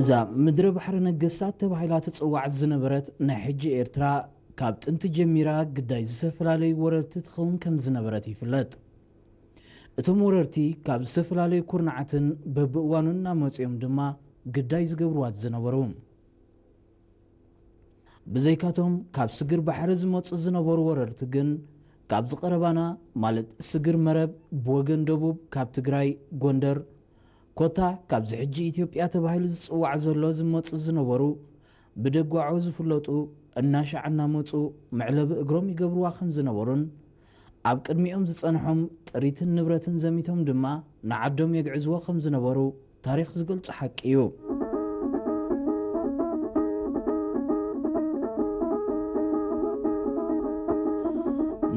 እዛ ምድረ ባሕሪ ነገስታት ተባሂላ ትጽዋዕ ዝነበረት ናይ ሕጂ ኤርትራ፣ ካብ ጥንቲ ጀሚራ ግዳይ ዝተፈላለዩ ወረርቲ ትኸውን ከም ዝነበረት ይፍለጥ። እቶም ወረርቲ ካብ ዝተፈላለዩ ኩርናዓትን በብእዋኑ እናመጽኦም ድማ ግዳይ ዝገብርዋ ዝነበሩ። ብዘይካቶም ካብ ስግር ባሕሪ ዝመጹ ዝነበሩ ወረርቲ ግን፣ ካብዚ ቀረባና፣ ማለት ስግር መረብ፣ ብወገን ደቡብ ካብ ትግራይ፣ ጎንደር፣ ኮታ ካብዚ ሕጂ ኢትዮጵያ ተባሂሉ ዝጽዋዕ ዘሎ ዝመጹ ዝነበሩ፣ ብደጓዖ ዝፍለጡ፣ እናሻዕ እናመጹ መዕለቢ እግሮም ይገብርዋ ከም ዝነበሩን፣ ኣብ ቅድሚኦም ዝጸንሖም ጥሪትን ንብረትን ዘሚቶም ድማ ንዓዶም የግዕዝዎ ከም ዝነበሩ ታሪኽ ዝገልጾ ሓቂ እዩ።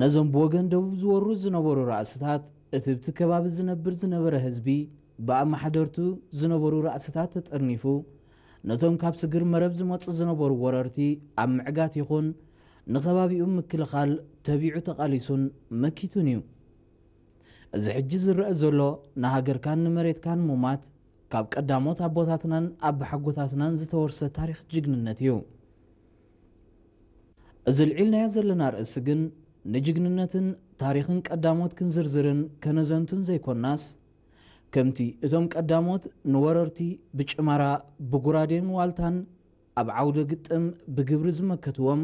ነዞም ብወገን ደቡብ ዝወሩ ዝነበሩ ራእስታት፣ እቲ ኣብቲ ከባቢ ዝነብር ዝነበረ ህዝቢ፣ ብኣመሓደርቱ ዝነበሩ ራእስታት ተጠርኒፉ፣ ነቶም ካብ ስግር መረብ ዝመጹ ዝነበሩ ወረርቲ ኣብ ምዕጋት ይኹን ንከባቢኡ ምክልኻል ተቢዑ ተቓሊሱን መኪቱን እዩ። እዚ ሕጂ ዝረአ ዘሎ ንሃገርካን ንመሬትካን ሙማት፣ ካብ ቀዳሞት ኣቦታትናን ኣባሓጎታትናን ዝተወርሰ ታሪኽ ጅግንነት እዩ። እዚ ልዒልናዮ ዘለና ርእሲ ግን፣ ንጅግንነትን ታሪኽን ቀዳሞት ክንዝርዝርን ከነዘንቱን ዘይኮናስ፣ ከምቲ እቶም ቀዳሞት ንወረርቲ ብጭማራ፣ ብጉራዴን ዋልታን ኣብ ዓውደ ግጥም ብግብሪ ዝመከትዎም፣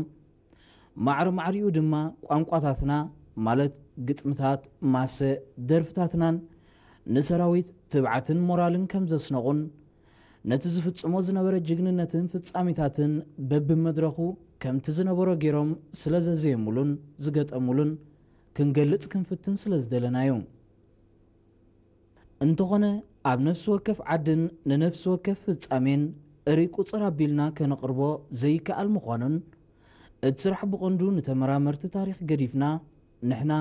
ማዕረ ማዕሪኡ ድማ ቋንቋታትና፣ ማለት ግጥምታት፣ ማሰ፣ ደርፍታትናን ንሰራዊት ትብዓትን ሞራልን ከም ዘስነቑን፣ ነቲ ዝፍጽሞ ዝነበረ ጅግንነትን ፍጻሜታትን በብመድረኹ ከምቲ ዝነበሮ ገይሮም ስለ ዘዘየሙሉን ዝገጠሙሉን ክንገልጽ ክንፍትን ስለ ዝደለና እዩ። እንተኾነ፣ ኣብ ነፍሲ ወከፍ ዓድን ንነፍሲ ወከፍ ፍጻሜን እሪ ቁጽር ኣቢልና ከነቕርቦ ዘይከኣል ምዃኑን፣ እቲ ስራሕ ብቐንዱ ንተመራመርቲ ታሪኽ ገዲፍና፣ ንሕና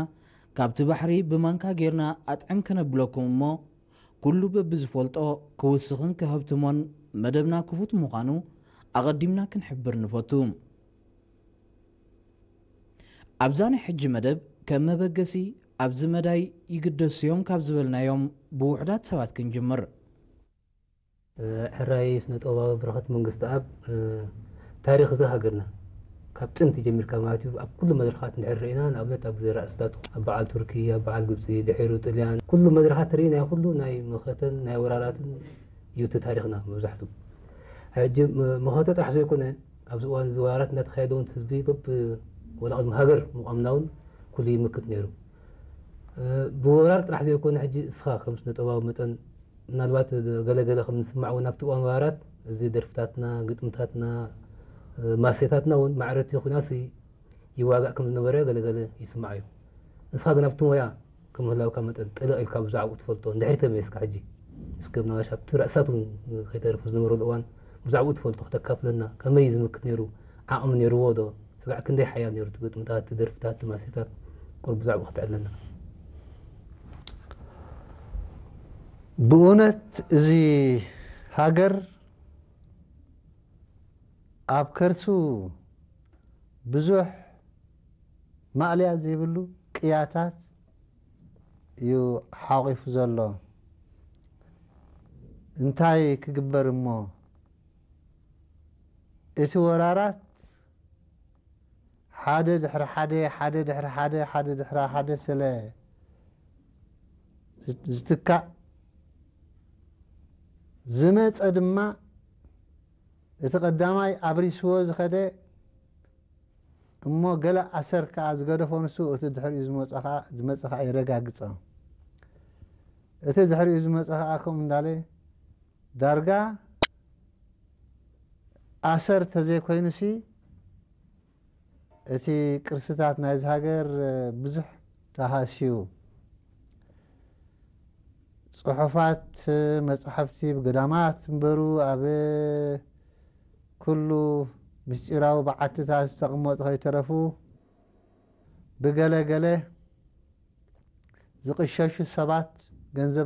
ካብቲ ባሕሪ ብማንካ ጌርና ኣጥዕም ከነብለኩም እሞ፣ ኩሉ በብዝፈልጦ ክውስኽን ከሀብትሞን መደብና ክፉት ምዃኑ ኣቐዲምና ክንሕብር ንፈቱ። ኣብዛ ናይ ሕጂ መደብ ከም መበገሲ ኣብዚ መዳይ ይግደሱ እዮም ካብ ዝበልናዮም ብውሑዳት ሰባት ክንጅምር። ሕራይ ስነ ጥበባዊ በረኸት መንግስተኣብ፣ ታሪኽ እዛ ሃገርና ካብ ጥንቲ ጀሚርካ ማለት እዩ፣ ኣብ ኩሉ መድረኻት እንድሕር ርኢና፣ ንኣብነት ኣብ ግዜ ራእስታቱ፣ ኣብ በዓል ቱርኪ፣ ኣብ በዓል ግብጺ፣ ድሒሩ ጥልያን፣ ኩሉ መድረኻት ርኢናዮ፣ ኩሉ ናይ መኸተን ናይ ወራራትን እዩ እቲ ታሪኽና መብዛሕትኡ። ሕጂ መኸተ ጥራሕ ዘይኮነ፣ ኣብዚ እዋን እዚ ወራራት እናተኻየደ እውን ህዝቢ በብ ወላ ቅድሚ ሃገር ምቋምና እውን ኩሉ ይምክት ነይሩ። ብወራር ጥራሕ ዘይኮነ፣ ሕጂ እስኻ ከም ስነ ጥበባዊ መጠን ምናልባት ገለገለ ከም ንስማዕ እውን ኣብቲ እዋን ወራራት እዚ ደርፍታትና፣ ግጥምታትና፣ ማሴታትና እውን ማዕረቲ ኩናሲ ይዋጋእ ከም ዝነበረ ገለገለ ይስማዕ እዩ። ንስኻ ግን ኣብቲ ሞያ ከም ምህላውካ መጠን ጥልቕ ኢልካ ብዛዕባኡ ትፈልጦ እንድሕር ተመይስካ ሕጂ እስከ ምናልባሽ ኣብቲ ራእሳት እውን ከይተረፉ ዝነበረሉ እዋን ብዛዕባኡ ትፈልጦ ክተካፍለና፣ ከመይ እዩ ዝምክት ነይሩ? ዓቕሚ ነይርዎ ዶ? ስጋዕ ክንደይ ሓያል ነይሩ እቲ ግጥምታት፣ እቲ ደርፍታት፣ እቲ ማሴታት? ቁሩብ ብዛዕባኡ ከተዕልለና። ብእውነት እዚ ሃገር ኣብ ከርሱ ብዙሕ ማእለያ ዘይብሉ ቅያታት እዩ ሓቑፉ ዘሎ። እንታይ ክግበር እሞ፣ እቲ ወራራት ሓደ ድሕሪ ሓደ፣ ሓደ ድሕሪ ሓደ፣ ሓደ ድሕሪ ሓደ ስለ ዝትካእ ዝመጸ ድማ፣ እቲ ቀዳማይ ኣብሪስዎ ዝኸደ እሞ ገለ ኣሰር ከኣ ዝገደፎ ንሱ፣ እቲ ድሕሪኡ ዝመጸ ከኣ፣ ዝመጸ ከኣ የረጋግጾ። እቲ ድሕሪኡ ዝመጸ ከኣ ከምኡ እንዳለ ዳርጋ ኣሰር ተዘይኮይኑሲ፣ እቲ ቅርስታት ናይዚ ሃገር ብዙሕ ተሃስዩ። ጽሑፋት፣ መጻሕፍቲ ብገዳማት እምበሩ ኣብ ኩሉ ምስጢራዊ በዓትታት ዝተቐመጡ ከይተረፉ፣ ብገለ ገለ ዝቕሸሹ ሰባት ገንዘብ